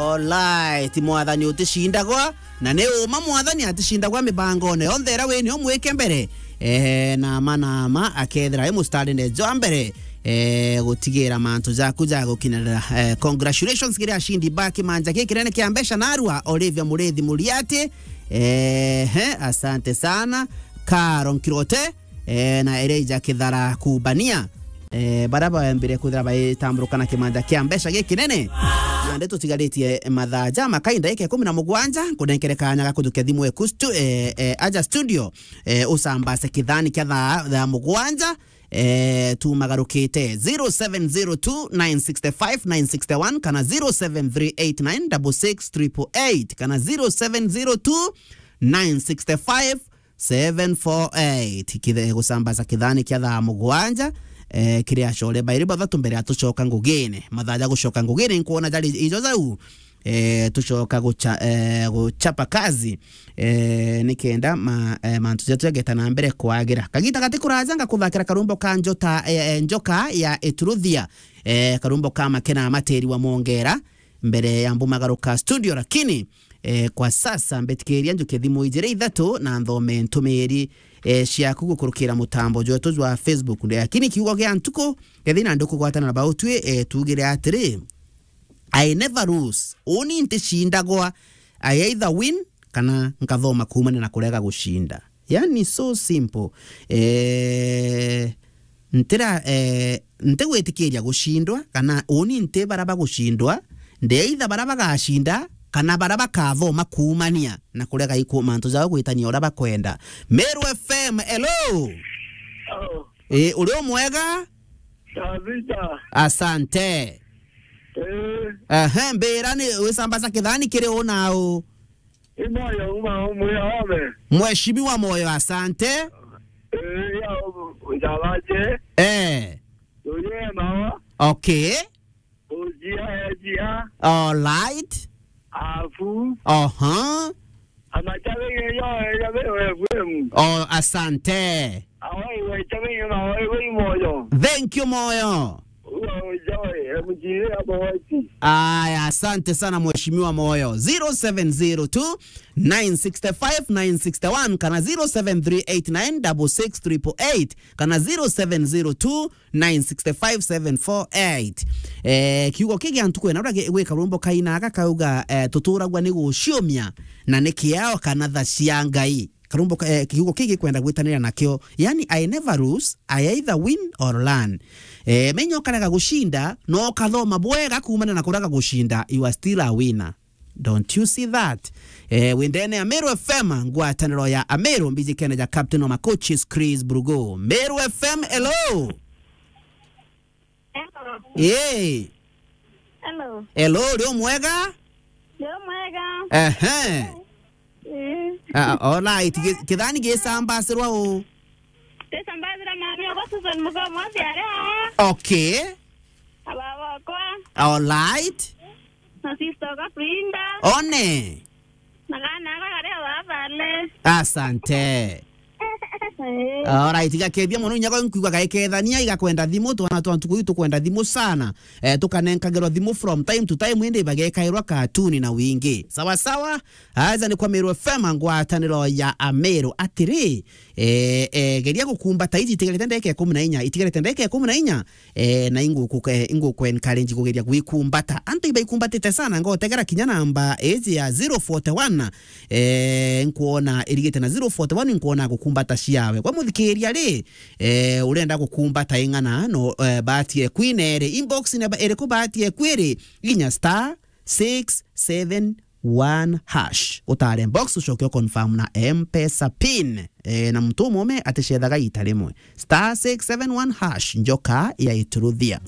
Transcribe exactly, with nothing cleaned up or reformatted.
Alright, mwathani uticindagwa, na ni uma mwathani aticindagwa mibangone yonthe iria wini umwike mbere. Eh, na ma na ma akethira e mustarine jwa mbere, eh, gutigira mantu jaku jagukinyirira. Eh, congratulations kiri ashindi ba kimanja giki kinene kia mbeca narua, Olivia Murithi Muriati. Eh, he, asante sana. Karo Nkirote, eh, na Elijah Kithara Kubania, eh, baria baembire kwithira baitamburuka na kimanja kia mbeca gikinene. Nandi tutigaritie mathaa ja makai ndagika ikumi na mugwanja, nkunenkere kanya ga kujukia thimu eku stu-, eh, eh, aja studio, eh, ucambase kithani kia thaa, thaa mugwanja, eh, tumagarukite zero seven zero two nine six five nine six one kana zero seven three eight nine double six triple eight kana zero seven zero two nine six five seven four eight. Kithe-, gusambaza kithani kia thaa mugwanja, eh, kiri acore bairi bathatu mbere ya tucoka ngugine. Mathaa ja gucoka ngugine nkwona jari ijo jau, eh, tucoka gucha-, eh, guchapa kazi, eh, nikenda ma-, eh, mantu jetu jageta na mbere kwagira. Kagita gati kuraja ngakuthakira karumbo ka njota, eh, eh, njoka ya Ituruthia, eh, karumbo ka makena materi wa mwongera mbere ya mbumagaruka studio, lakini, eh, kwa sasa mbetikiria njuke thimu ijiri ithatu na nthome ntumiri, eh, ciaku gukurukira mutambo jwetu jwa Facebook. Lakini kiugo gia ntuku, kethi na ndukugwatana na bautwi, eh, tugire atiri, "I never lose." Uni nticindagwa. I either win kana nkathoma kuumania na kurega gucinda. Yani, so simple. Eh, ntira, eh, ntigwitikiria gucindwa, kana uni nti bara bagucindwa, ndi either bara bagacinda, kana bara bakathoma kuumania na kurega iku-, mantu jao gwitania uria bakwenda. Meru F M, hello! Oh. Eh, uri o mwega? Kabisa. Asante. Eh. Ehe, mbira ni wisambaza kithani kiri u na u? I Moyo uma umwe ome. Mheshimiwa Moyo, asante. Eh, ya u-, Njalaje. Eh. Uye mawa. Okay. Ujia, ejia. All right. Afu. Aha. Amachabe ngeyo, ya Meru F M. Oh, asante. Awe, we chabe ngeyo, awe, we Moyo. Thank you, Moyo. Uwe, ujawe, M G A hapo wapi? Aya, asante sana Mheshimiwa Moyo. Zero seven zero two nine six five nine six one kana zero seven three eight nine double six triple eight kana zero seven zero two nine six five seven four eight. Eh, kiugo kigi antu kwena uria gi-, gwi karumbo kaina gakauga, eh, tuturagwa ni guciumia na ni kiao kana tha cia Ngai. Karumbo ka-, eh, kiugo kigi kwenda gwitanira nakio. Yani, I never lose, I either win or learn. Eh, menya ukarega gucinda, no ukathoma bwega kuumana na kurega gucinda, you are still a winner. Don't you see that? Eh, windene ya Meru F M, ngwataniro ya Ameru, mbiji kene ja Captain wa Macoaches, Chris Brugo. Meru F M, hello! Hello. Eh. Hello. Hello, uri o mwega? Ndi o mwega. Ehe. Eh. Ah, all right. Ki-, kithani gisambasirwa u? Gisambasirwa mami okwa Susan Mugo Mwathi ari aa. Okay. Na baba okwa. All right. Na sister okwa Brinda. One. Na kana aka kari o baba ale. Asante. Eh. Alright, igakethia mono inya kwa nkuigua gaikethania igakwenda thimu, twana twa ntuku ii tukwenda thimu sana. Eh, tukanenkagirwa thimu from time to time, indi bagekairwa katuni na wingi. Sawa sawa, aja ni kwa Meru F M, ngwataniro ya Ameru. Atiri, eh, eh, geria gukumbata iji itigarite ndagika ikumi na inya, itigarite ndagika ikumi na inya, eh, na inguku-, eh, inguku encourage kugeria gwikumbata. Antu ibaikumbatite sana, ngotegera kinya namba iji ya zero forty one, eh, nkuona irigite na zero forty one, nkuona gukumbata ciawe. Kwa muthikiria ri, eh, urenda gukumbata ing'ana, no, eh, bahati eku ine ri, inbox ne ba-, iriku bahati eku iri, inya star six seven one hash. Utare box, ucoke u confirm na M-Pesa pin. Eh, na muntu umume aticethaga ita rimwe. Star six seven one hash, njoka ya Ituruthia.